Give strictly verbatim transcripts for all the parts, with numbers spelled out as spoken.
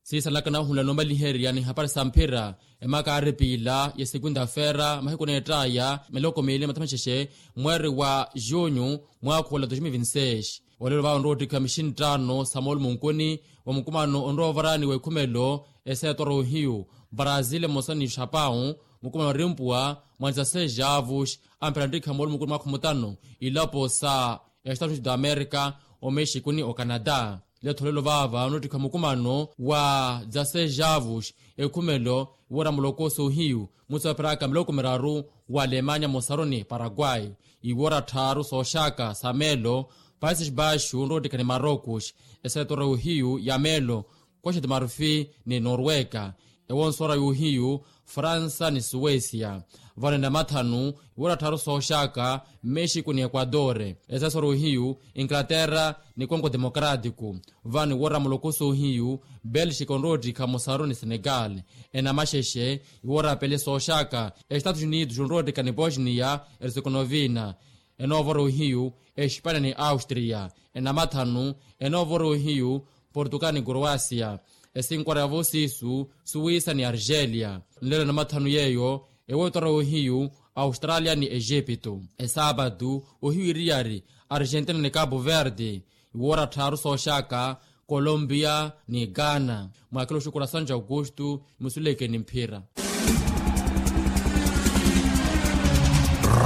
Siisalaka nahunla noomaliherya ni hapari sa mphira, emaka aari piila ya sekunta-feera mahiku neett'aya miloko miili mathamaxexe, mweeri wa junyu, mwaakhula dois mil vinti seis. Olelo vaavo onrowa ottikha mixinttaano sa moolumo nkuni, wa mukumano onrowa ovarani w'ekhumelo, eseetora ohiyu, brazil emosa ni xapau, mukumano arimpuwa, mwa nisaseis javus, amphera nttikha moolumo nkuni mwaakha mutano, ilapo sa estados unidos da america, omexico ni ocanada. Letho lelo vaava onottikha mukumano wa dzaseis javus, ekhumelo, iwora muloko soohiyu, mutsi wapheraka miloko miraru, wa alemanya mosaru ni paraguay. Iwora tthaaru sooxaka sa meelo, países baixos nroottikha ni marocos, esetora yohiyu ya meelo, costa de marfil ni norwega, ewonsora yohiyu, fransa ni suécia. Vano enamathanu, iwora tthaaru sooxaka, mexico ni equador, esesora ohiyu, inglaterra ni congo democrático. Vano iwora muloko soohiyu, belxica onroottikha mosaru ni senegal. Enamaxexe, iwora pele sooxaka, estados unidos onroottikha ni bosnia herzegovina. Enoovora ohiyu, espania ni austria. Enamathanu, enoovora ohiyu, portugal ni croacia. Esinkwara yavo siisu, suwisa ni argelia. Nlelo enamathanu yeeyo, ewotora ohiyu, australia ni egipto. Esaapatu, ohiyu iriyari, argentina ni capo verde. Iwora tthaaru sooxaka, colombia ni ghana. Mwaakela oxukura santo augusto, musuleke ni mphira.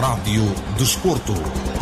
Radio do Desporto.